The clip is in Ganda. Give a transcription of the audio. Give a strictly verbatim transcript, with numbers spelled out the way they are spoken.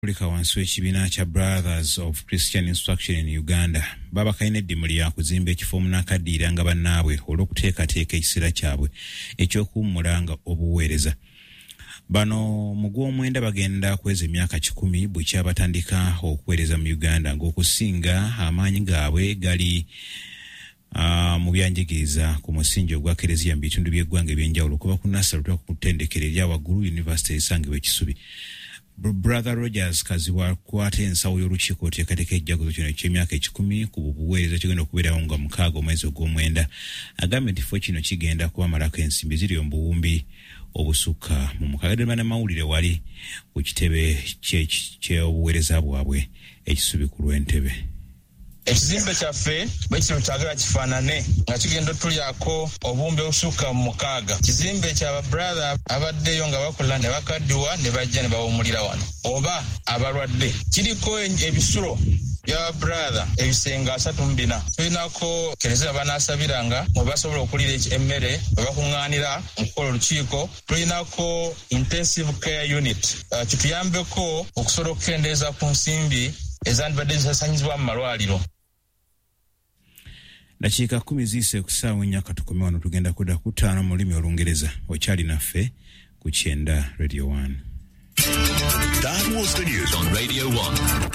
Abakatolika wansi w'ekibiina kya Brothers of Christian Instruction in Uganda babakalina eddimu lya kuzimba ekifo omunaakaddiiranga bannaabwe olw'okuteekateeka ekiseera kyabwe eky'okuwummula nga obuweereza. Bano mu gw'omwenda bagenda kweza emyaka kikumi bwe kyabatandika okuweereza mu Uganda, ng'okusinga amaanyi gaabwe gali uh, mu byanjigiriza ku musingi ogwa kereziya mu bitundu by'eggwanga ebyenjawulo, okuva ku nursery okutuuka ku ttendekero erya waggulu, yunivasite esangibwa e Kisubi. Brother Rogers Kazibwa akwata ensawo y'olukiiko oteekateeka ejjaguzo kino eky'emyaka ekikumi ku buweereza kigenda okubeerawo nga mukaaga omwezi ogw'omwenda, agambye nti kifo kino kigenda kubamalako ensimbi ziri mu buwumbi obusukka mu mukaaga. Ddala bannamawulire wali ku kitebe ky'obuweereza bwabwe e Kisubi ku lw'Entebe. Ekizimbe kyaffe bwe kino kyagala kifaanane nga kigenda otulyako obuwumbi obusukka mu mukaaga. Kizimbe kya babrother abaddeyo nga bakola ne bakaddiwa ne bajja ne bawumulira wano oba abalwadde. Kiriko ebisulo bya babrother ebisenge asatu mu bina. Tulinako kereziya banaasabiranga mwe basobola okulira emmere, we bakuŋŋaanira mu kukola olukiiko. Tulinako intensive care unit, uh, kituyambeko okusobola okukendeeza ku nsimbi ezandibadde zisasanyizibwa mu malwaliro. Dakiika kumi ziyise ku ssaawa ennya. Katukome wano, tugenda kudda ku ttaano mu lulimi Olungereza. Okyali naffe ku kyenda Radio one. That was the news on Radio one.